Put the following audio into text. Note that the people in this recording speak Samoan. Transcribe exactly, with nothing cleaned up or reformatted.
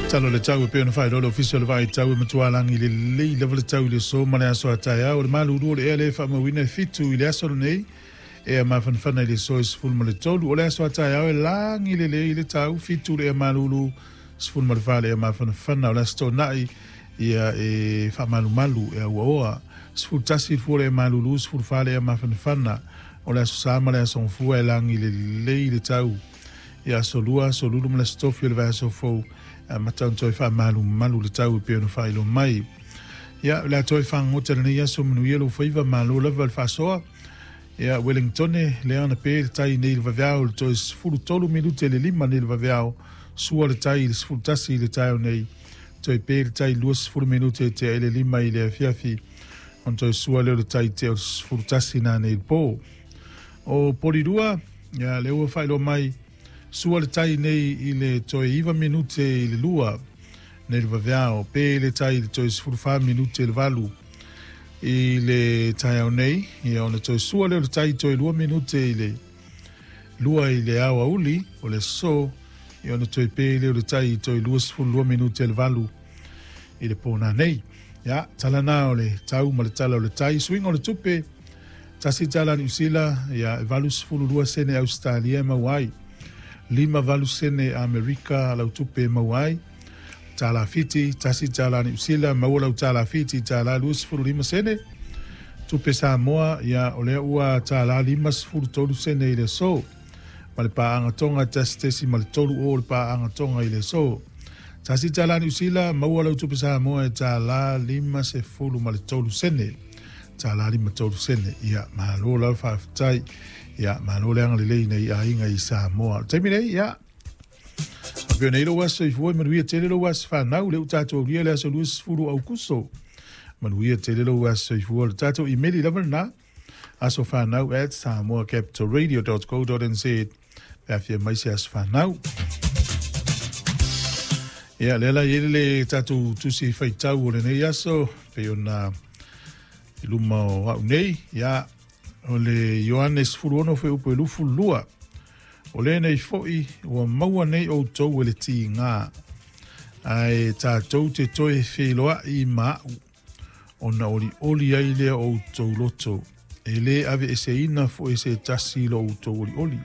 Tala o le tau e pei ona faailoa le Ofisa o le Vaai Tau e matua lagi lelei lava le tau i le aso ma le aso a taeao. O le malulu o le ea lea e faamauina e fitu i le aso lenei, ea mafanafana i le aso e sefulu ma le tolu. O le aso a taeao e lagi lelei le tau, fitu le ea malulu, sefulu ma le fa le ea mafanafana. O le aso toonai ia e faamalumalu e auaoa, sefulu tasi i le fua le ea malulu, sefulu fa le ea mafanafana. O le aso sa ma le aso gafua e lagi lelei le tau. Ia aso lua, aso lulu ma le aso tofi o le vaiaso fou, amata ona toe faamalumalu le tau e pei ona faailoa mai. Ia, o le a toe fagogota i lenei aso, manuia lou faiva, malo lava le faasoa. Ia, Wellingtone, lea na pe le tai nei le vaveao, le toe sefulu tolu minute le lima nei le vaveao, sua le tai i le sefulu tasi i le taeao nei, toe pe le tai lua sefulu minute tea i le lima i le afiafi, ona toe sua lea o le tai tea o le sefulu tasi na nei le po. O Polirua, ia, lea ua faailoa mai, sua le tai nei i le toe iva minute i le lua nei le vaveao, pe le tai i le toe sefulu fa minute i le valu i le taeao nei, ia ona toe sua lea o le tai toe lua minute i le lua i le aoauli o le aso, ia ona toe pe lea o le tai i toe lua sefulu lua minute i le valu i le pōna nei. Ia, tala na o le tau ma le tala o le tai. Suiga o le tupe, tasi tala Niu Sila, ia, e valu sefulu lua sene Ausetalia e maua ai, lima valu sene Amerika lau tupe e maua ai. Tala Fiti, tasi tala Niu Sila, maua lau tala Fiti, tala lua sefulu lima sene. Tupe Samoa, ia, o lea ua tala lima sefulu tolu sene i le aso. Ma le paaga Tonga, tasi tesi ma le tolu o le paaga Tonga i le aso. Tasi tala Niu Sila, maua lau tupe Samoa e tala lima sefulu ma le tolu sene. Tala lima tolu sene. Ia, malo lau faafetai. Ia, malo le agalelei nei aiga i Samoa. O le taimi nei, ia, faapea nei lou aso soifua, manuia tele lou aso fanau, lea ua tatou aulia le aso luasefulu o Aukuso. Manuia tele lou aso soifua. O le tatou imeli lava lena, asofanau at samoa capital radio dot co dot nz, pe afia mai se aso fanau. Ia, lea la i ai le tatou tusi faitau o lenei aso, pei ona i luma o au nei, ia, o le Ioane sefulu ono fuaiupu e lufulu lua. O lenei foi ua maua nei outou e le tiga, ae tatou te toe feiloai ma au, ona olioli ai lea o outou loto, e lē aveeseina foi se tasi lo outou olioli.